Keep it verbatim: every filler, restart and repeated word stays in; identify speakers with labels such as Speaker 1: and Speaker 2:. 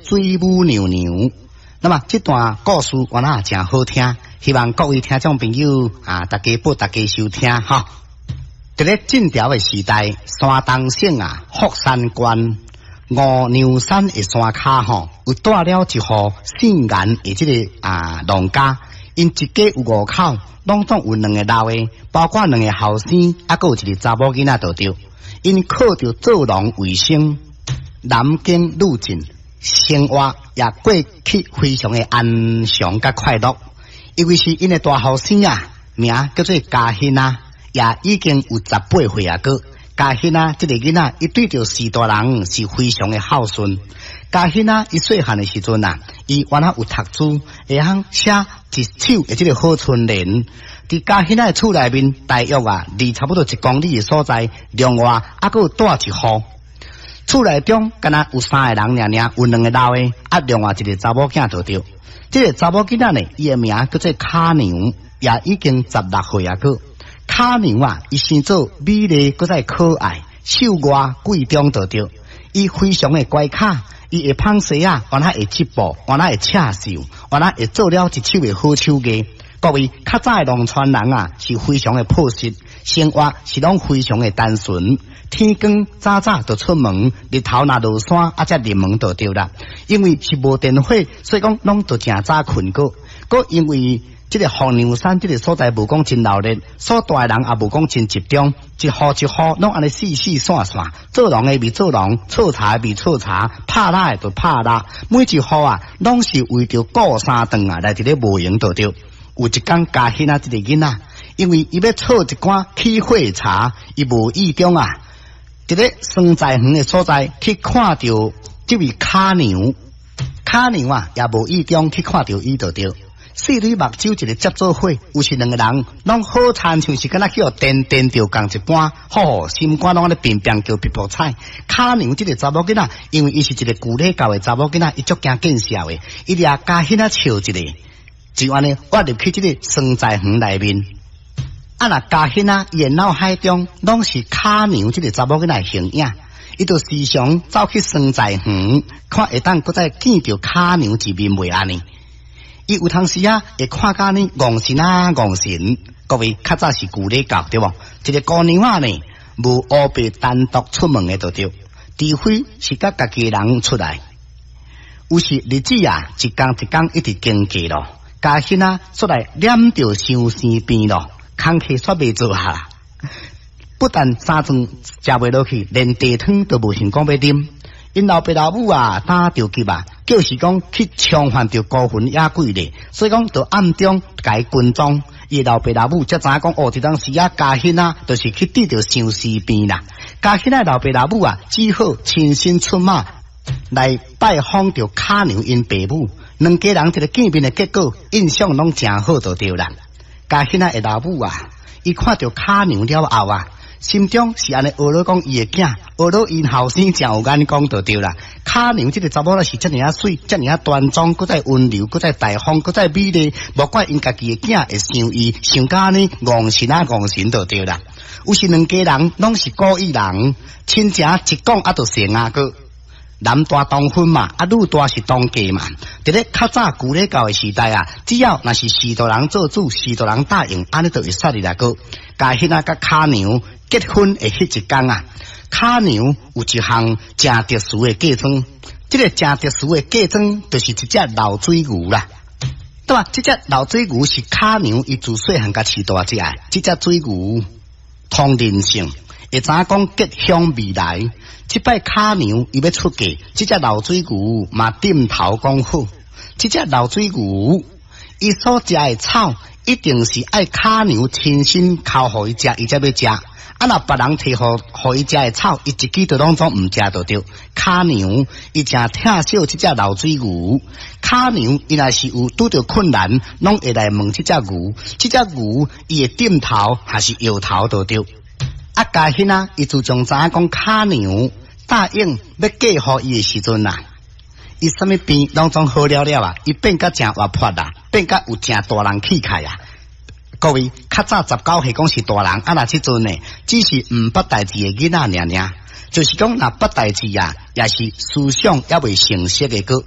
Speaker 1: 水母娘娘。那麼這段故事原來誠好聽，希望各位聽眾朋友啊，大家報大家收聽哈。佇咧晉朝的時代，山東省啊福山縣五娘山的山跤吼，有住了一戶姓顏的這个啊農家，𪜶一家有五口，攏總有兩个老的，包括兩个後生，猶閣有一个查某囡仔就對。𪜶靠著做農為生，男耕女織，生活也過去非常的安詳佮快樂。因為是𪜶的大後生啊，名叫做嘉興啊，也已經有十八歲啊閣。嘉興啊，這个囡仔，伊對著序大人是非常的孝順。嘉興啊，伊細漢的時陣啊，伊原來有讀書，會曉寫一手的這个好春聯。佇嘉興仔的厝內面，大約啊，離差不多一公里的所在，另外猶閣有住一戶。厝內中敢若有三个人爾爾，有兩个老的，啊，另外一个查某囝就對。這个查某囡仔呢，伊的名叫做卡娘，也已經十六歲啊閣。卡娘啊，伊生做美麗，閣再可愛，秀外貴中就對。伊非常的乖巧，伊會紡紗仔，原來會織布，原來會刺繡，原來會做了一手的好手藝。各位較早的農村人啊，是非常的樸實，生活是攏非常的單純。天光早早就出門，日頭若落山，啊才入門就對啦。因為是無電火，所以講攏都誠早睏過。閣因為這个福娘山這个所在無講真鬧熱，所住的人也無講真集中，一戶一戶攏按呢四四散散，做農的佇做農，採茶的佇採茶，拍獵的就拍獵，每一戶啊，攏是為著顧三頓啊來佇咧無閒就對。有一工嘉興仔這个囡仔，因為伊欲採一寡起火茶，伊無意中啊，佇咧桑栽園的所在去看著這位卡娘，卡娘啊也無意中去看著伊就對。四蕊目睭一个接做伙，有時兩个人攏好親像是敢若去予電電著仝一般，吼，心肝攏按呢乒乒叫噗噗彩。卡娘這个查某囡仔，因為伊是一个舊禮教的查某囡仔，伊足驚見笑的，伊掠嘉興仔笑一下，就按呢挖入去這个桑栽園內面。啊，若嘉興仔伊的腦海中攏是卡娘這个查某囡仔的形影，伊就時常走去桑栽園，看會當閣再見著卡娘一面袂按呢？伊有當時啊，會看甲呢戇神啊戇神。各位較早是舊禮教對無？一个姑娘仔呢，無烏白單獨出門的就對，除非是佮家己人出來。有時日子啊，一工一工一直經過咯，嘉興仔煞來念著相思病咯，工課煞袂做下。不但三頓食袂落去，連茶湯都無想講欲啉。𪜶老爸老母啊，擔著急啊，就是講去衝犯著孤魂野鬼咧，所以講就暗中共伊跟蹤。伊老爸老母才知影講，哦，這當時啊，嘉興仔，就是去得著相思病啦。嘉興仔老爸老母啊，只好親身出馬來拜訪著卡娘𪜶爸母，兩家人這个見面的結果，印象攏誠好就對啦。嘉興仔的老母啊，伊看著卡娘了後啊，心中是按呢學咧講伊的囝，學咧𪜶後生誠有眼光就對啦。卡娘這个查某仔是遮爾仔媠，遮爾仔端莊，閣再溫柔，閣再大方，閣再美麗，無怪𪜶家己的囝會想伊，想甲按呢戇神啊戇神就對啦。有時兩家人攏是古意人，親情一講啊就成啊閣。男大當婚嘛，啊女大是當嫁嘛。佇咧較早舊禮教的時代啊，只要若是序大人做主，序大人答應，按呢就會使哩啦閣。嘉興仔佮卡娘結婚的彼一工啊，卡娘有一項誠特殊的嫁妝，這个誠特殊的嫁妝就是一隻老水牛啦。對吧？這隻老水牛是卡娘伊自細漢共飼大隻的，這隻水牛通靈性，會知影講吉凶未來。這擺卡娘伊欲出嫁，這隻老水牛嘛點頭講好。這隻老水牛伊所食的草，一定是愛卡娘親身剾予伊食，伊才欲食。啊，若別人提予予伊食的草，伊一支都攏總毋食就對。卡娘伊誠疼惜這隻老水牛，卡娘伊若是有拄著困難，攏會來問這隻牛，這隻牛伊會點頭還是搖頭就對。啊，嘉興仔，伊自從知影講卡娘答應欲嫁予伊的時陣啊，伊啥物病攏總好了了啊，伊變甲誠活潑啦，變甲有誠大人氣概啊。各位，較早十九歲講是大人，啊若這陣呢，只是毋捌代誌的囡仔爾爾，就是講若捌代誌啊，也是思想猶未成熟的閣。